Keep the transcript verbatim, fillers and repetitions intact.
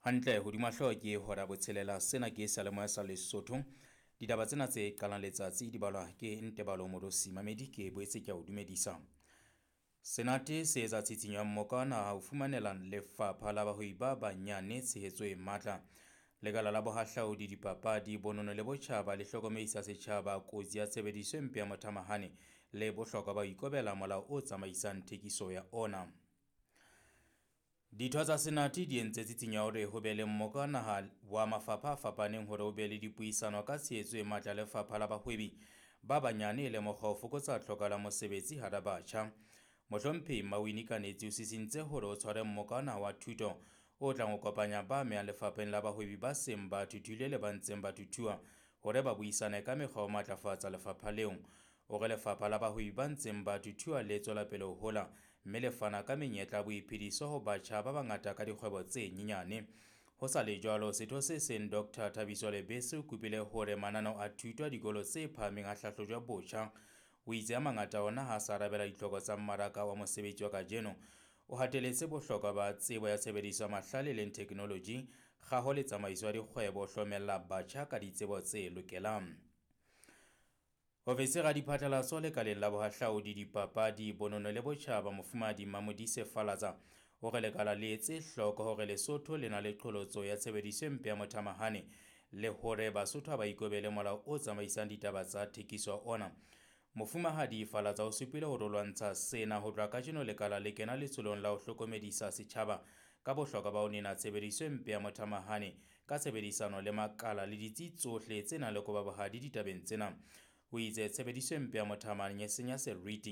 Hantle hodima hlooho ke hora botshelela. Sena ke seyalemoya sa Lesotho. Ditaba tsena tse qalang letsatsi di balwa ke Ntebalo Morosi. Mamedi ke boetse ke a o dumedisa. Senate se etsa tshitshinyo ya mmoka wa naha ho fumanela lefapha la bahwebi ba banyane tshehetso e matla. Lekala la bohahlaudi, dipapadi, bonono le botjhaba le hlokomedisa setjhaba kotsi ya tshebediso e mpe ya mothamahane le bohlokwa ba ho ikobela molao o tsamaisang thekiso ya ona. Ditho tsa Senate di entse tshitshinyo ya hore ho be le mmoka wa naha wa mafapha a fapaneng hore ho be le dipuisano ka tshehetso e matla lefapha la bahwebi ba banyane e le mokgwa ho fokotsa tlhoko la mosebetsi hara batjha. Mohlomphehi Mawini Kanetsi o sisintse hore o tshware mmoka wa naha wa thuto o tlang ho kopanya ba amehang lefapheng la bahwebi ba seng ba thuthule le ba ntseng ba thuthuha hore ba buisane ka mekgwa ho matlafatsa lefapha leo. O re lefapha la bahwebi ba ntseng ba thuthuha le tswela pele ho hola mme le fana ka menyetla ya boiphediso ho batjha ba bangata ka dikgwebo tse nyenyane. Ho sa le jwalo, setho se seng Doctor Thabiso Lebese o kopile hore mananeo a thuto a dikolo tse phahameng a hlahlojwe botjha. O itse a mangata ona ha a sa arabela ditlhoko tsa mmaraka wa mosebetsi wa kajeno. O hateletse bohlokwa ba tsebo ya tshebediso ya mahlale e leng technology, kgaho le tsamaiso ya dikgwebo ho hlomella batjha ka ditsebo tse lokelang. Ofisiri ya diphatlalatso lekaleng la bohahlaudi, dipapadi, bonono le botjhaba Mofumahadi Mamodise Falatsa o re lekala le etse hloko hore Lesotho le na le qholotso ya tshebediso e mpe ya mothamahane le hore Basotho ha ba ikobele molao o tsamaisang ditaba tsa thekiso ona. Mofumahadi Falatsa o supile hore ho lwantsha sena ho tloha kajeno lekala le kena letsholong la ho hlokomedisa setjhaba ka bohlokwa ba ho nena tshebediso e mpe ya mothamahane ka tshebedisano le makala le ditsi tsohle tse nang le kobabohadi ditabeng tsena. O itse tshebediso e mpe ya mothamahane e senya seriti